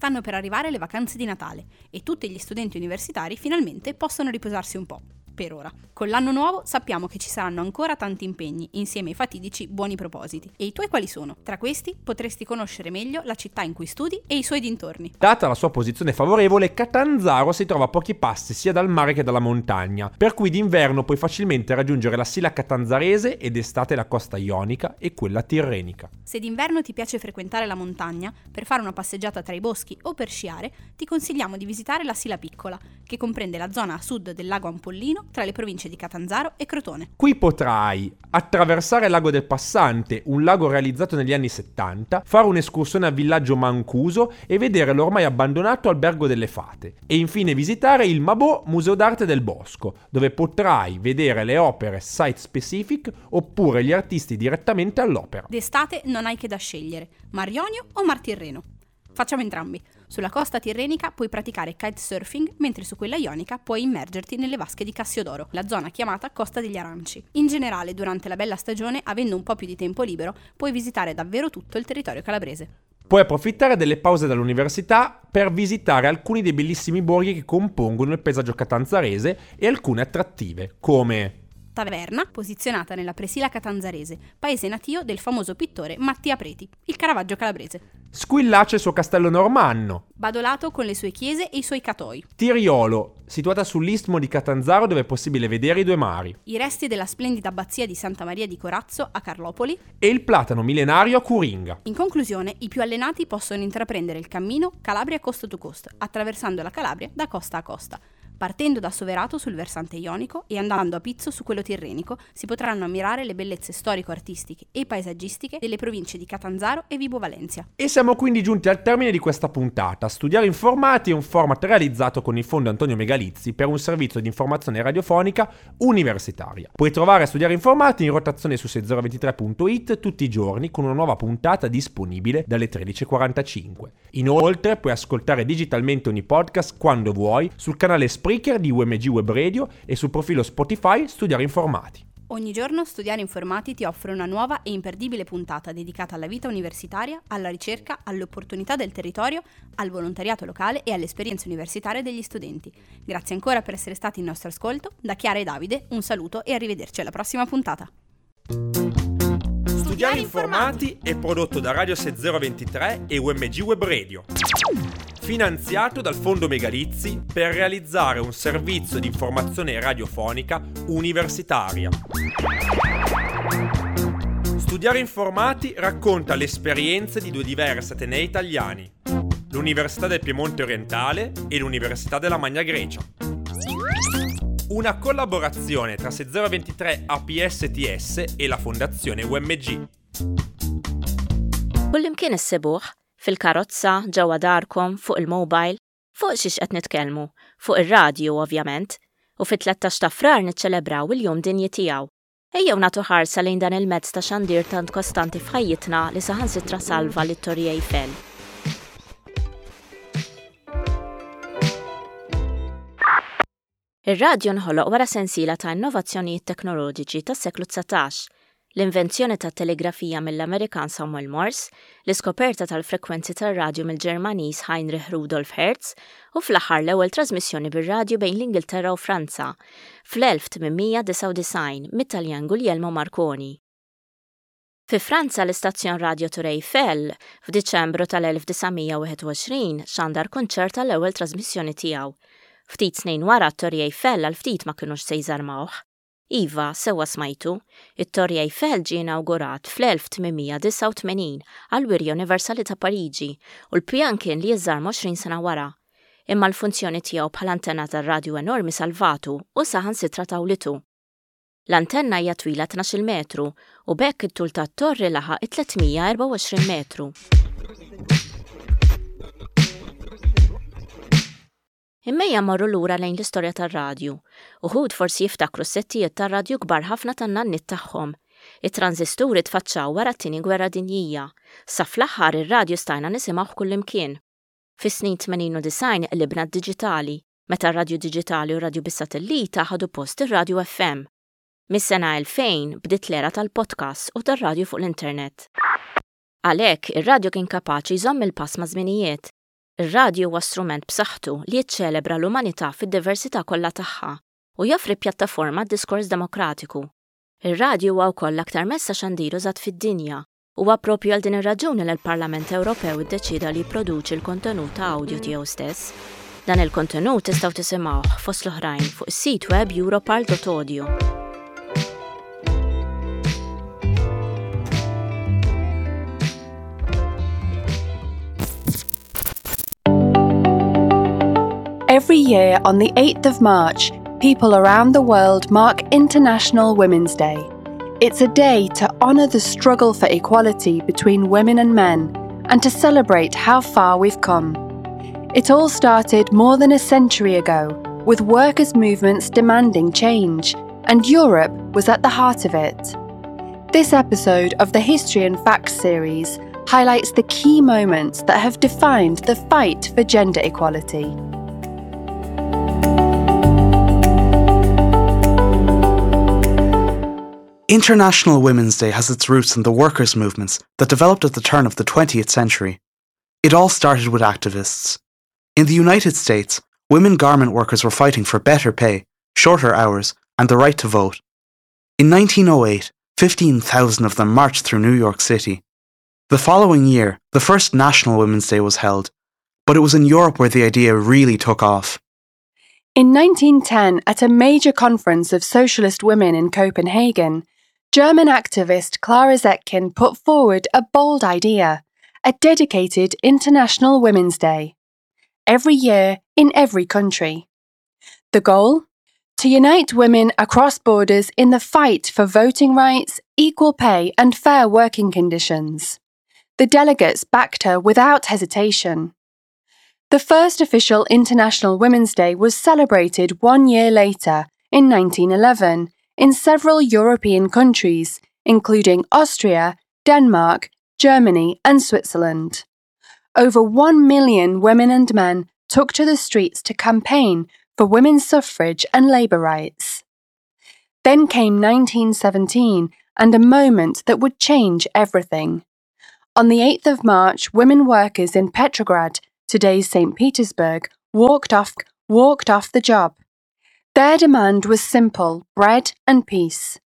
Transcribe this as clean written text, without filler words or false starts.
Stanno per arrivare le vacanze di Natale e tutti gli studenti universitari finalmente possono riposarsi un po'. Per ora. Con l'anno nuovo sappiamo che ci saranno ancora tanti impegni, insieme ai fatidici buoni propositi. E i tuoi quali sono? Tra questi potresti conoscere meglio la città in cui studi e i suoi dintorni. Data la sua posizione favorevole, Catanzaro si trova a pochi passi sia dal mare che dalla montagna, per cui d'inverno puoi facilmente raggiungere la Sila Catanzarese ed estate la costa ionica e quella tirrenica. Se d'inverno ti piace frequentare la montagna, per fare una passeggiata tra i boschi o per sciare, ti consigliamo di visitare la Sila Piccola, che comprende la zona a sud del lago Ampollino tra le province di Catanzaro e Crotone. Qui potrai attraversare il lago del Passante, un lago realizzato negli anni 70, fare un'escursione al villaggio Mancuso e vedere l'ormai abbandonato albergo delle fate. E infine visitare il Mabò Museo d'Arte del Bosco, dove potrai vedere le opere site specific oppure gli artisti direttamente all'opera. D'estate non hai che da scegliere, Mar Ionio o Mar Tirreno. Facciamo entrambi. Sulla costa tirrenica puoi praticare kitesurfing, mentre su quella ionica puoi immergerti nelle vasche di Cassiodoro, la zona chiamata Costa degli Aranci. In generale, durante la bella stagione, avendo un po' più di tempo libero, puoi visitare davvero tutto il territorio calabrese. Puoi approfittare delle pause dall'università per visitare alcuni dei bellissimi borghi che compongono il paesaggio catanzarese e alcune attrattive, come Taverna, posizionata nella Presila Catanzarese, paese natio del famoso pittore Mattia Preti, il Caravaggio calabrese. Squillace il suo castello normanno. Badolato con le sue chiese e i suoi catoi. Tiriolo, situata sull'istmo di Catanzaro dove è possibile vedere i due mari. I resti della splendida abbazia di Santa Maria di Corazzo a Carlopoli. E il platano millenario a Curinga. In conclusione, i più allenati possono intraprendere il cammino Calabria coast to coast, attraversando la Calabria da costa a costa. Partendo da Soverato sul versante ionico e andando a Pizzo su quello tirrenico, si potranno ammirare le bellezze storico-artistiche e paesaggistiche delle province di Catanzaro e Vibo Valentia. E siamo quindi giunti al termine di questa puntata. Studiare Informati è un format realizzato con il fondo Antonio Megalizzi per un servizio di informazione radiofonica universitaria. Puoi trovare Studiare Informati in rotazione su 6023.it tutti i giorni con una nuova puntata disponibile dalle 13.45. Inoltre puoi ascoltare digitalmente ogni podcast quando vuoi sul canale Spreaker di UMG Web Radio e sul profilo Spotify Studiare Informati. Ogni giorno Studiare Informati ti offre una nuova e imperdibile puntata dedicata alla vita universitaria, alla ricerca, alle opportunità del territorio, al volontariato locale e alle esperienze universitarie degli studenti. Grazie ancora per essere stati in nostro ascolto. Da Chiara e Davide un saluto e arrivederci alla prossima puntata. Studiare Informati è prodotto da Radio 6023 e UMG Web Radio. Finanziato dal Fondo Megalizzi per realizzare un servizio di informazione radiofonica universitaria. Studiare Informati racconta le esperienze di due diversi atenei italiani, l'Università del Piemonte Orientale e l'Università della Magna Grecia. Una collaborazione tra 6023 APSTS e la Fondazione UMG. Kullimkien issibuh, fil-karozza, ġewwa darkom, fuq il-mobile. Fuq xiex qed nitkellmu? Fuq ir-radju, ovvjament. U fit-13 ta' Frar niċċelebraw il-Jum Dinji tiegħu. Ejjew nagħtu ħarsa lejn dan il-mezz ta' xandir tant kostanti f'ħajjitna li saħansitra salva lit-Torri Eiffel. Ir-radju nħoloq wara sensiela ta' innovazzjonijiet teknoloġiċi tas-seklu 19, l-invenzjoni tat-telegrafija mill-Amerikan Samuel Morse, l-iskoperta tal-frekwenzi tar-radju mill-Ġermaniż Heinrich Rudolf Hertz u fl-aħħar l-ewwel trażmissjoni bir-radju bejn l-Ingilterra u Franza, fl-1899 mit-Taljan Guglielmo Marconi. Fi Franza l-istazzjon radju Tour Eiffel, f'Diċembru tal-1921 xandar kunċert għall-ewwel trażmissjoni tiegħu. Ftit snin wara t-Torri Eiffel għal ftit ma kinux se jżarmawh. Iva, sewwa smajtu, it-Torri Eiffel ġie inawgurat fl-1889 għall-Wirja Universali ta' Pariġi u l-pjan kien li jiżżarma 20 sena wara. Imma l-funzjoni tiegħu bħala antenna tar-radju enormi salvatu u saħansitra tawlitu. L-antenna hija twila 12-il metru u b'hekk it-tul tat-torri laħaq it-324 metru. Imma ejja mmorru lura lejn l-istorja tar-radju. Uħud forsi jiftakru s-settijiet tar-radju kbar ħafna tan-nanniet tagħhom. It-tranżisturi tfaċċaw wara t-Tieni Gwerra Dinjija. Sa fl-aħħar ir-radju stajna nisimgħuh kullimkien. Fis-snin 80 u 90 qlibna d-diġitali, meta r-radju diġitali u r-radju bis-satellita ħadu post ir-radju FM. Mis-sena 2000 bdiet l-era tal-podcasts u tar-radju fuq l-internet. Għalhekk, ir-radju kien kapaċi jżomm il-pass maż-żminijiet. Ir-radju huwa strument b'saħħtu li jiċċelebra l-umanità fid-diversità kollha tagħha u joffri pjattaforma għad-diskors demokratiku. Ir-radju huwa wkoll l-aktar mezz ta' xandir użat fid-dinja. Huwa proprju għal din ir-raġuni li l-Parlament Ewropew iddeċieda li jipproduċi l-kontenut ta' awdjo tiegħu stess. Dan il-kontenut tistgħu tisimgħuh, fost l-oħrajn, fuq is-sit web europarl.audio. Every year on the 8th of March, people around the world mark International Women's Day. It's a day to honour the struggle for equality between women and men and to celebrate how far we've come. It all started more than a century ago with workers' movements demanding change, and Europe was at the heart of it. This episode of the History and Facts series highlights the key moments that have defined the fight for gender equality. International Women's Day has its roots in the workers' movements that developed at the turn of the 20th century. It all started with activists. In the United States, women garment workers were fighting for better pay, shorter hours, and the right to vote. In 1908, 15,000 of them marched through New York City. The following year, the first National Women's Day was held, but it was in Europe where the idea really took off. In 1910, at a major conference of socialist women in Copenhagen, German activist Clara Zetkin put forward a bold idea a dedicated International Women's Day. Every year, in every country. The goal? To unite women across borders in the fight for voting rights, equal pay, and fair working conditions. The delegates backed her without hesitation. The first official International Women's Day was celebrated one year later, in 1911, in several European countries, including Austria, Denmark, Germany, and Switzerland. Over 1 million women and men took to the streets to campaign for women's suffrage and labour rights. Then came 1917 and a moment that would change everything. On the 8th of March, women workers in Petrograd, today's St. Petersburg, walked off, walked off the job. Their demand was simple bread and peace.